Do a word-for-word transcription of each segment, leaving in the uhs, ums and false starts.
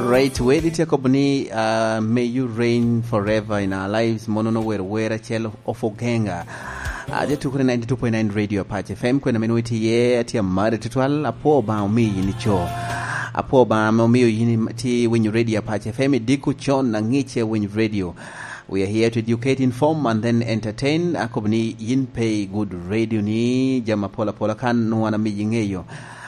Right, wedi tye akobo ni, uh, "May you reign forever in our lives." Mono no wer, wer acel of Ogenga. Uh, tye tukere ninety-two point nine Radio Apache F M, kwena meno witi ye, ati amare tutwal, apo ba omi yini cho. Apo ba me omi yini ti winyo Radio Apache F M, idiko chon na ngiche winyo radio. We are here to educate, inform, and then entertain. Akobo ni yin pe i good radio ni, jama pola pola kan nwana mi yingeyo.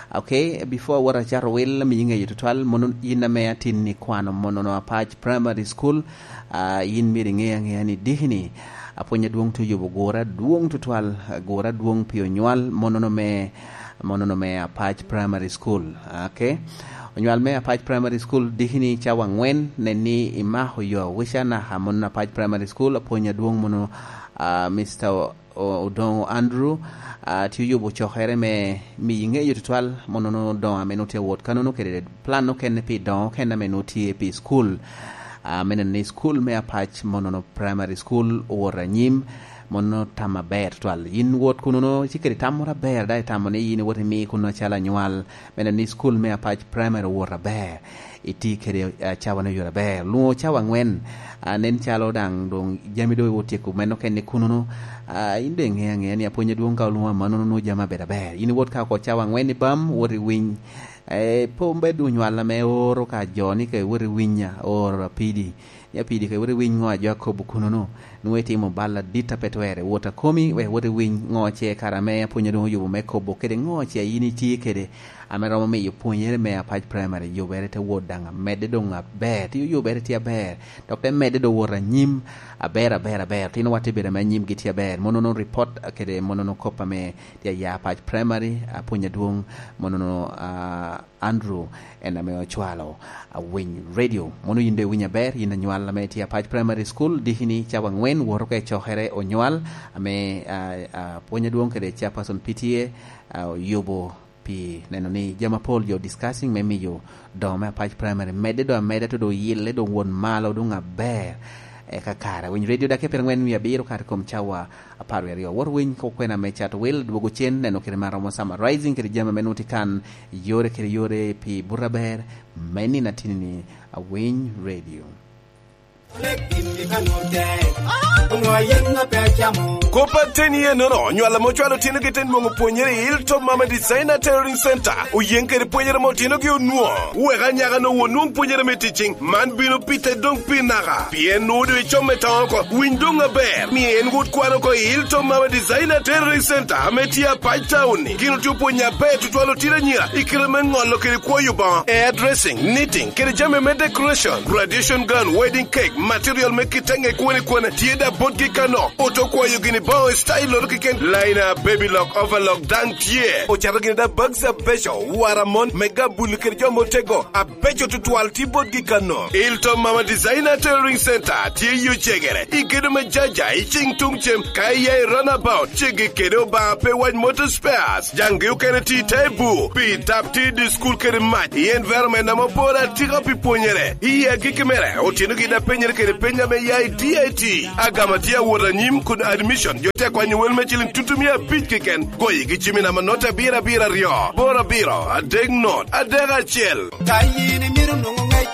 Okay, before awot acato wil, mi yingeyo tutwal, mono yin ame atin ni kwano mono no Apach Primary School. Ah, yin myero inge angeya ni diki ni, apwony adwong to yubo gura adwong tutwal, gura adwong pi onywal, mono no me, mono no me Apach Primary School. Okay. Onywal me Apach Primary School diki ni cawa angwen, nen ni imako yo wica naka mono Apach Primary School, apwony adwong mono, ah, Mister O-, Odongo Andrew, ah, tye oyubo cokere me miyo ingeyo tutwal, mono no dongo ame nutye awot kanono kede plan okene pi dongo okene ame nutye pi school. Ah, me neno ni school me Apac mono no primary school owot anyim, mono tam aber tutwal. Yin wot kuno no, ci kede tam moro aber, da itamo ni yin iwot imi kuno acalo anywal, me neno ni school me Apac primary owot aber. Iti kede, ah, cawa no yore aber. Lungo cawa angwen, ah, nen calo daŋ doŋ jami doŋ otyeko meno kene kuno no. Ah, in doŋ iŋe aŋea ni apwony adwong ka olungo amannono nwoŋo jami abedo aber. In iwot ka oko cawa angwen i bam, wot i winy. Eh, pe obed onywal ame oro ka jo ni ka iwot i winya, oro apidi. Ni apidi ka iwot i winy ŋo a jo akobo kuno no. Nwoŋo itimo bal adit a pe twerre. Wot akomi, wek wot i winy ŋo ce kara ame apwony adwong oyubo me kobo kede ŋo ce in itye kede. Ame romo miyo pwonyere me Apac Primary yubere te wot daŋ amedde doŋ aber, tye yubere tye aber, dok te medde doŋ wot anyim aber, aber, aber. Tinowa te bedo ame anyimgi tye aber. Mono no report kede mono no kop ame tye aya Apac Primary, apwony adwong, mono no, ah, Andrew en ame ocwalo Awiny Radio. Mono yin doŋ iwinyo aber, yin anywal ame tye Apac Primary School, diki ni cawa angwen woto ka i cokere onywal, ame, ah, ah, apwony adwong kede chairperson P T A, ah, oyubo pi neno ni jami apol jo discussing me miyo dongo me Apac Primary medde doŋ ameda, to doŋ oyelle doŋ won malo doŋ aber. Eka kare, Winy Radio dakika pyerangwen wie abiro kare kom cawa apar wie aryo. Wot winy kok kwena me cato wil, dwogo cen, neno kede ma romo summarizing kede jami ame nwoŋo tye kan, yore kede yore pi buto aber, me nino atini ni Awiny Radio. Kop ateni enono, nywal ame ocwalo otinogi te nwoŋo pwonyere i Hilltop Mama Designer Tailoring Center, oyeŋ kede pwonyere ame otinogi onwoŋo. Wek anyaka-nu onwoŋ pwonyere me teaching, man bino pite doŋ pi naka. Pien nwoŋo doŋ icom me toŋo oko, winy doŋ aber. Mie en wot kwan oko i Hilltop Mama Designer Tailoring Center ame tye Apac Town-ni. Gin otye opwonyo aber tutwal otino anyira i kite me ŋolo kede kwoyo boŋo, hairdressing, knitting, kede jami me decoration, graduation gown, wedding cake, material me kite ŋe kwone kwone, tye da botgi kano. Oto kwayo gini boŋo i style-loto keken, liner, baby lock, overlock, daŋ tye. Ocato gini da bags abeco, wara mon, me gabuli kede jo motego, abeco tutwal tye botgi kano. Hilltop Mama Designer Tailoring Center tye i Ocegere, i gedo me Jaja, i cing tuŋ cem, ka iya i runabout, ceggi kede Obaŋa pe wac Motor Spares. Jaŋgi okene tye i te bur, pi tap tye i dye cukul kede mac, i environment ame oporo atika pi pwonyere. I agikki mere, otinogi da penyere kede peny ame ya i D I T. Agama tye awot anyim kun admission, jo tye akwanyo wel me ciliŋ tutumia abic keken. Goyigi cimi namba note abiro abiro aryo, boro abiro, adek not, adek acel. Ka yin imito nwoŋo ŋec,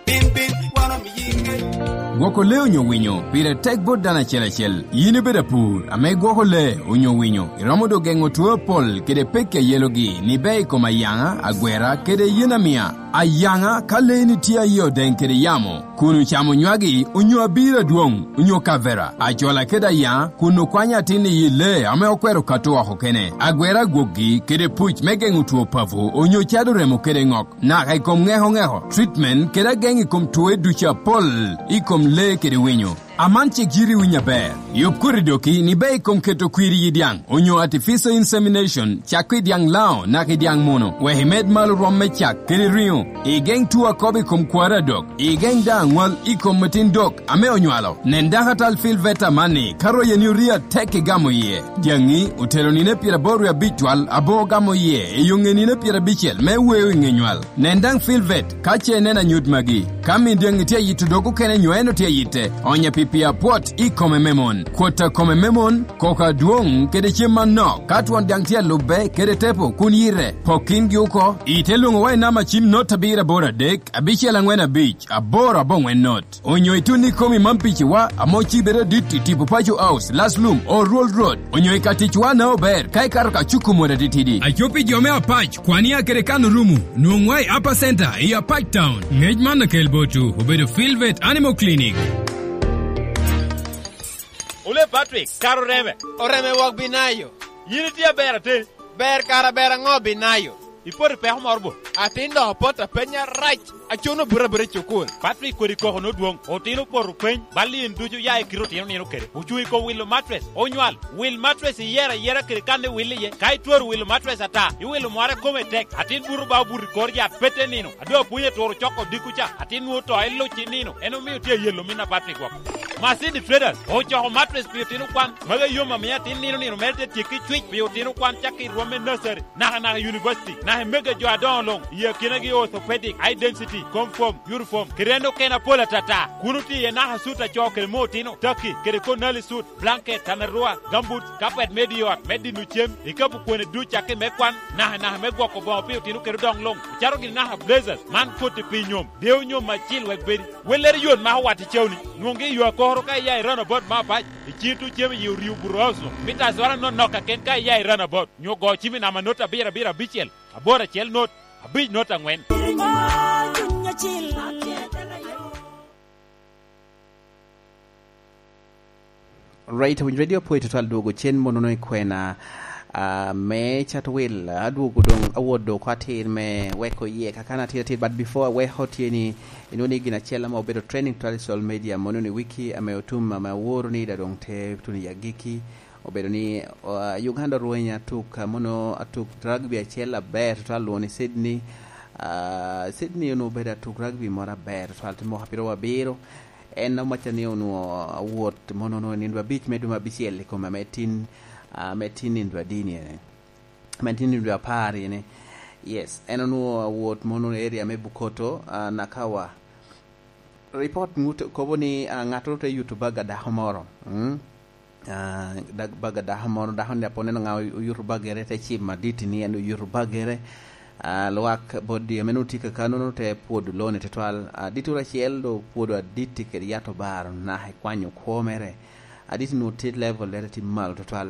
bin, bin, wan omiyi ŋec. Gwoko lee onyo winyo pire tek bot dano acel acel. Yin ibedo apur ame igwoko lee onyo winyo, iromo doŋ geŋo two apol kede pekki a yelogi ni bea i kom ayaŋa, agwera, kede yen amia. Ayaŋa, ka leeni tye aye odeŋ kede yamo, kun ocamo nywagi onyo abiro adwoŋ, onyo kavera, acola kede ayaŋa, kun okwanyo atin i yi lee ame okwero kato oko kene, agwera agwokgi kede puc me geŋo two papo, onyo cado remo kede ŋok, naka i kom ŋeko ŋeko, treatment kede ageŋ i kom twoe ducu apol i kom lee kede winyo. Aman cik yiti winy aber. Yub koti doki ni bea i kom keto kwir i yi dyaŋ, onyo artificial insemination, cak i dyaŋ laŋo naka i dyaŋ muno, wek imed malo rwom me cak kede riŋo, igeŋ two akobo i kom kwaro adok, igeŋ daŋ aŋwal i kom atin dok ame onywalo. Nen dakatal Phil Veta amanni, ka royeni orii atek igamo iye. Dyaŋi otelo nino pyeraboro wie abic twal, aboŋo gamo iye i yo ŋe nino pyerabicel me weo i ŋe nywal. Nen daŋ Phil Vet ka ce ineno anyut magi. Ka min dyaŋi tye ayito dog okene nyo en otye ayitte, onye pi Pi apwot i kome me mon, kwot a kome me mon, koko adwoŋ kede cem manok, ka twon daŋ tye alubbe kede tepo kun yite, pok kingi oko, ite lwoŋowa i namba cim not abiro aboro adek, abicel aŋwen abic, aboro aboŋwen not. Onyo itun i kom i mam piciwa, ame ocibere dit i tipo Paco House, Last Lum, Old Road, onyo i ka ticwa na ober, ka ikato ka cuku mot atitidi. Aco pi jo me Apac, kwania kede kan orumu, nwoŋwa i Upper Center, i Apac Town. Ngec man akel botwu, obedo Filvet Animal Clinic. Ole Patrick, kara oreme. Oreme wok binayo. Yin itye aber atin. Ber kara ber aŋo binayo? Ipoto i peko moro bo? Atin dok opot apenya rac. Acuno buto abuta i cukul. Patrick kodi koko nodwoŋ. Otino opoto peny. Bal in ducu ya i kite otino nino kede. Ocuŋ i kom wilo matres. Onywal. Wil matres iyero ayera kede kan iwil iye. Ka itwero wilo matres ata, iwilo mware kome tek. Atin buto ba obuto i kor yat pete nino. Ado apwony aturo coko dikku ca. Atin nwoŋo to iluc i nino. En omio tye ayelo min a Patrick woko. Masini Traders ocoko matres pi otino kwan. Magi yom amiyo atin nino nino mere te tyekki cwic pi otino kwan cakki i rwom me nursery. Naka naka i university, naka i mege jo adoŋo luŋ, i akinagi orthopedic, high density, comfort, uniform, kede en okene apol atata. Kun otye iye naka sut a co kede moo otino, taki, kede konali sut, blanket, tanarua, gambut, kapet me di ot, me dino cem, ikapu kwene duc cakki me kwan, naka naka me gwoko boŋo pi otino kede odoŋ luŋ, ocato gini naka blazers, man koti pi nyom, dewo nyom acil wek bedi. Wellere yot ma owat i cawni, nwoŋgi i yo akoro ka iya i roundabout me Apac, i cito cem i orio buto oso, mita azwara nonok kaken ka iya i roundabout. Nyo go cim i namba not abiro abiro abicel, aboro acel not, abic not aŋwen. Right, Awiny Radio apwoyo tutwal dwogo cen monono i kwena, ah, me Chatwil. Adwogo doŋ awot dok oko atir me weko iye kakan atir atir, but before aweko tye ni, inwoŋo ni gin acel ame obedo trending tutwal i social media mono ni wiki ame otum ame aworo ni da doŋ te tuno i agikki. Obedo ni, ah, Uganda orwenyo atuk, ah, mono atuk rugby acel aber tutwal, lwongo ni Sydney. Ah, Sydney onwoŋo obedo atuk rugby moro aber tutwal, tye mwaka pyeraryo abiro. En omacca ni onwoŋo awot mono onwoŋo nino abic me dwe me abicel i kome ame tin, ah, ame tin nino adini ene. Ame tin nino apar ene. Yes, en onwoŋo awot mono area me Bukoto, ah, Nakawa. Report ŋut kobo ni, ah, ŋattoro te yuto bag a dako moro. Mm? Ah, dag-, bag a dako moro, dako ni apwon en oŋa oy-, oyuto bagere, te cimo aditi ni en oyuto bagere. Ah, lwak bot di ame nwoŋo tye kakano nwoŋo te pwodo lone tutwal. Aditoro acel do pwodo aditi kede yat obaro naka i kwanyo kwo mere. Aditi nwoŋo tye level lere tye malo tutwal.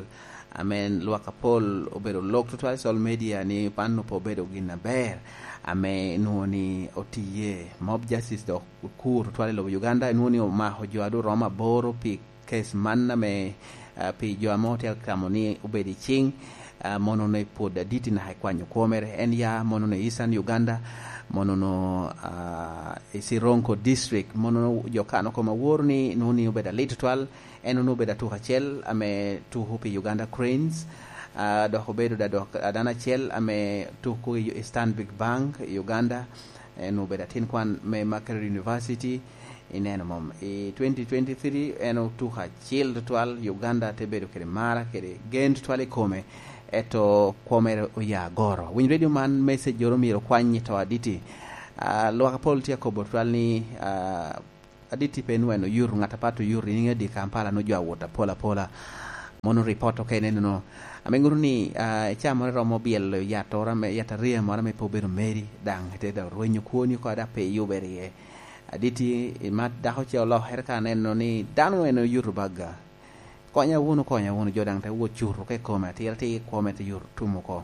Ame lwak apol obedo lok tutwal i social media ni man pe obedo gin aber. Ame nwoŋo ni otiye. Mob justice dok okur tutwal i lobo Uganda, nwoŋo ni omako jo a doŋ romo aboro pi case man ame, ah, pi jo ame otye ka gamo ni obed i ciŋ, ah, mono ni pwod aditi naka i kwanyo kwo mere. En ya mono ni Eastern Uganda, mono no, ah, i Sironko District, mono no jo kano kome aworo ni nwoŋo ni obedo alit tutwal. En onwoŋo obedo atuk acel ame tuko pi Uganda Cranes. Ah, dok obedo da dok a dano acel ame tuko i, i Stanbic Bank i Uganda. En obedo atin kwan me Makerere University. Ineno mom, i twenty twenty-three en otuko acil tutwal, Uganda te bedo kede mara kede gen tutwal i kome, eto kwo mere oya agoro. Winy Radio man, message oro myero okwany i to aditi. Ah, lwak apol tye akobo tutwal ni, ah, aditi pe nwen oyuto, ŋat apat oyuto, in iŋeo di Kampala nwoŋo jo awot apol apola. Mono report okene nono. Ame ŋuto ni, ah, icaa moro iromo byelo yat oro ame, yat ariya moro ame pe obedo meri, daŋ ite dok rwenyo kwoni oko, dok pe iyubere iye. Aditi, imat dako ce olokere ka aneno ni dano en oyuto bagga. Konya wunu, konya wunu, jo daŋ te wot cuto ka i kome, atira tye i kome, te yuto tum oko.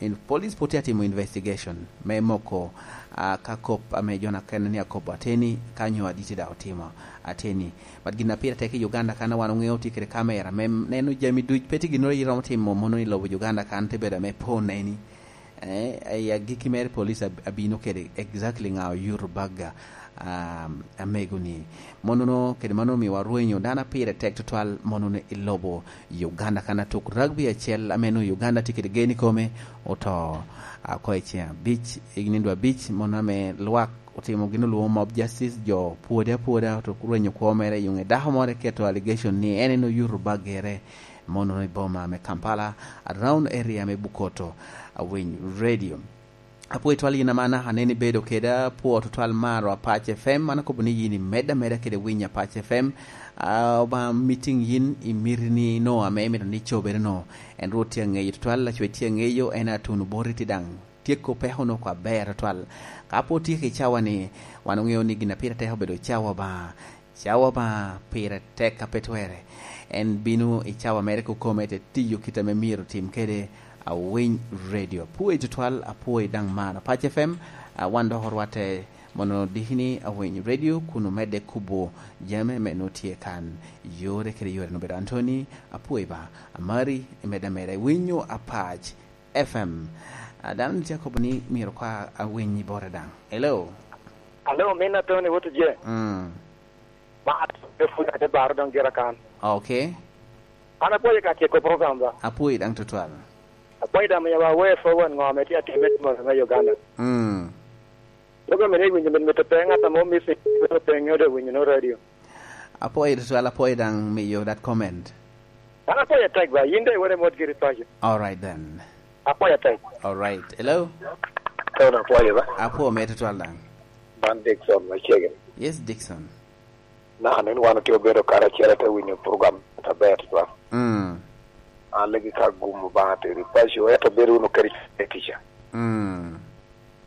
In, police pwod tye atimo investigation me moko, ah, ka kop ame jo na kene ni akobo ateni, ka nyo aditi daŋ otimo ateni. But gin a pire tek i Uganda kan wan oŋeo tye kede kamera me neno jami duc, pe tye gin oro iromo timo mono i lobo Uganda kan te bedo ame pe oneni. Eh, i agikki mere police ab-, abino kede exactly ŋa oyuto bagga, um, amego ni. Monono, kede mano omio warwenyo dano a pire tek tutwal monono i lobo Uganda kan atuk rugby acel ame nwoŋo Uganda tye kede gen i kome, oto, ah, oko i ceng abic, i nindo abic, mono ame lwak otimo gin olwoŋo mob justice, jo pwode apwoda, oto rwenyo kwo mere, i ŋe dako moro eketo allegation ni en en oyuto baggere, mono i boma me Kampala, around area me Bukoto, Awiny Radio. Apwoyo twal yin aman, aneno ibedo keda, apwoo tutwal maro Apac F M, an akobo ni yin imed ameda kede winyo Apac F M. Ah, Obaŋa mitiŋ yin imiti ni no ame imito ni cobere no. En Rwot tye aŋeyo tutwal, Lacwec tye aŋeyo, en atun boti ti daŋ tyeko peko no kwa ber tutwal. Ka pwod tye ki cawa ni, wan oŋeo ni gin a pire tek obedo cawa Obaŋa. Cawa Obaŋa pire tek a pe twere. En bino i cawa mere kokome te tiyo kit ame myero tim kede Awiny Radio. Apwoyi tutwal, apwoyi daŋ mano. Apac F M, ah, wan dok orwatte mono dikini Awiny Radio, kun omedde kubo jami me nwo tye kan. Yore kede yore no bedo Anthony, apwoyi ba, amari, imedde ameda, iwinyo Apac F M. Ah, dano tye akobo ni myero kwa awiny i bore daŋ. Hello? Hello, min Anthony, what is it? Mm. Ma, pwod ate baro dong gira kan. Okay. An apwoyo ka tyeko program ba. Apwoyo daŋ tutwal. Apwoyo daŋ miyo wa aware for wan ŋo ame tye atime i Moro me Uganda. Mm. Program ene iwinyo mit mit pe ŋat amo missing, pe pe ŋeo de winyo no radio. Apwoyo tutwal, apwoyo daŋ miyo that comment. An apwoyo tek ba, yin de iwere mot giri paco. All right then. Apwoyo tek. All right. Hello? Tony, apwoyo ba? Apwoyo me tutwal daŋ. Man Dickson macegin. Yes, Dickson. Na, aneno wan otye obedo karacel, ate winyo program aber tutwal. Mm. An legi ka gum Obaŋa teri paco, ento bedo wunu kede kica. Mm.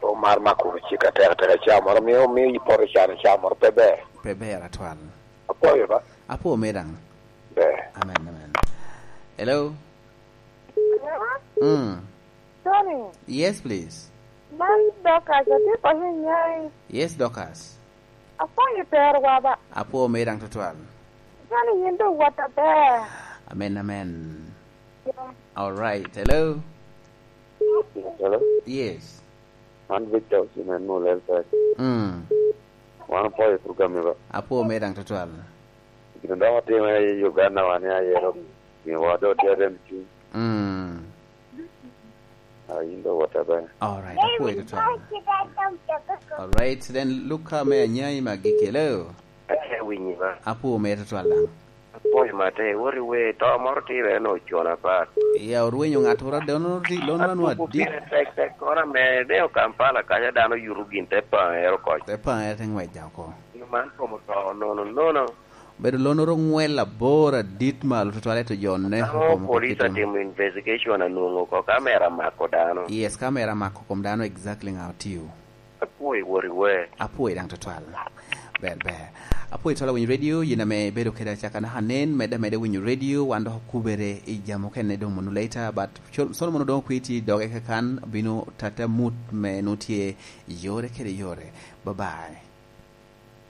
Omar mako wunu cik atek atek, ca moro mio, mio ipoto can, ca moro pe ber. Pe ber atwal. Apwoyo ba? Apwo me daŋ. Ber. Amen, amen. Hello? Mm. Tony. Yes, please. Man Dorcas, atye paco i Nyai. Yes, Dorcas. Apwoyo terowa ba. Apwo me daŋ tutwal. Tony, yin dong wot aber. Amen, amen. Yeah. All right. Hello? Hello? Yes. Man Victor Osimhen Mulel Pek. Mm. Wan opwoyo program ni ba. Apwo me daŋ tutwal. Gin dok otime i Uganda wan i ayero. Miwa do tye rem cuny. Mm. Ah, yin do wot aber. All right, apwoyo tutwal. All right, then Luka me Anyai Magikelo. Eh, winyi ba. Apwo me tutwal daŋ. Apwoyo mate, wot i wer, to moro tire en ocona pat. Ya orwenyo ŋat ora dono ri, lono anwa Aduku dit. Pire tek tek kono ame deo Kampala kanya dano yuto gin te paŋ ero koc. Te paŋ ero te ŋwec daŋ oko. Gin man kom oto nono nono. Bedo lono ro ŋwel abor adit malo tutwal eto jo ne. Amo police atimo investigation anwongo ko kamera mako dano. Yes, kamera mako kom dano exactly ŋa otiyo. Apwoyo wot i wer. Apwoyo daŋ tutwal. Ber, ber. Apwoyo twal awinyo radio, yin ame ibedo kede acaka naka nen, medde ameda winyo radio, wan dok okubere i jam okene doŋ mono later, but col-, Solomon Odongo Kwiti doge kakan, bino tata mut me nutye yore kede yore. Bye bye.